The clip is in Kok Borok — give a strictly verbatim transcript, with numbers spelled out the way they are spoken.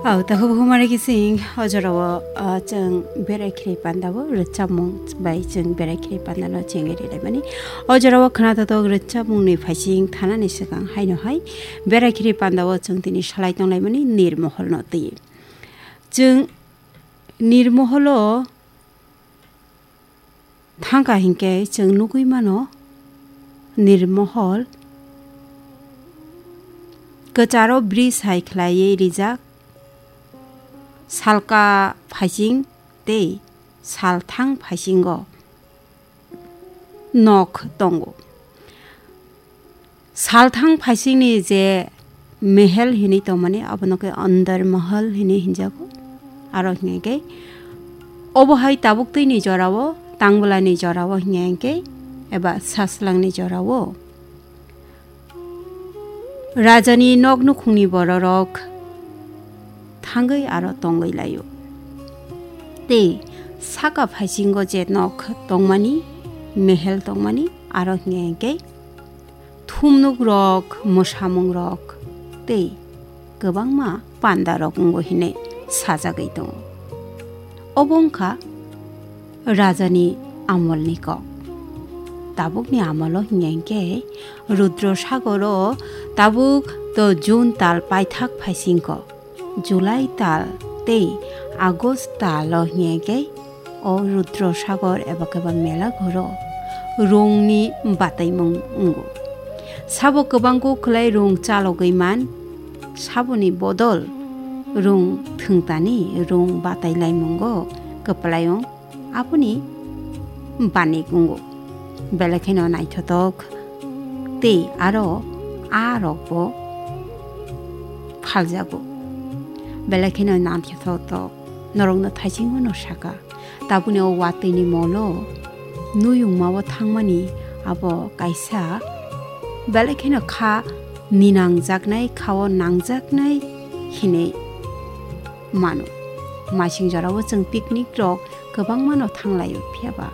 Au, takhuk bukhuk mare kising, o jorao, ah, chwng berai khiri panda o rwchapmung bai chwng berai khiri panda no chengwi rilai mani. O jorao khwna totok rwchapmung ni phaising thanani swkang haino hai berai khiri panda o chwng tini salai tonglai mani nirmohol no twi. Chwng nirmohol o thangkha hinkhe chwng nugwi mano, nirmohol kwcharo bridge hai khlaiwi rijak, salka phaising tei salthang phaisingo nok tongo. Salthang phaisingni je mehel hinwi tongmani, abono khe Andar Mahal hinwi hinjago. Aro hinkhe obo hai tabuk twini jorao, tangbwlani jorao hinkhe eba saslangni jorao rajani nok nukhungni bororok thangwi aro tongwi laio. Tei saka phaisingo je nok tongmani, mehel tongmani, aro hinkhe thumnuk rok, mwsamung rok tei kwbangma panda rok wngo hinwi sajagwi tongo. Obo wngkha rajani amolni kok. Tabukni amolo hinkhe Rudro Sagoro tabuk to June tal paithak phaisingko. July tal tei August talo hinkhe o Rudro Sagor eba khe ba mela ghoro rungni bataimung wngo. Sabo kwbangkuk khlai rung chalogwi man, saboni bodol rung thwngtani rung batailaimungo kwplaio. Aboni bani wngo. Belai kheno naithotok tei aro a rokbo phaljago. Belai kheno naithotok norokno thaisingo no saka. Tabukni o watwi ni molo nuyungma o thangmani abo kaisa belai kheno kha ninangjaknai, kha o nangjaknai hinwi mano. Masing jorao chwng picnic rok kwbangma no thanglaio, phiya ba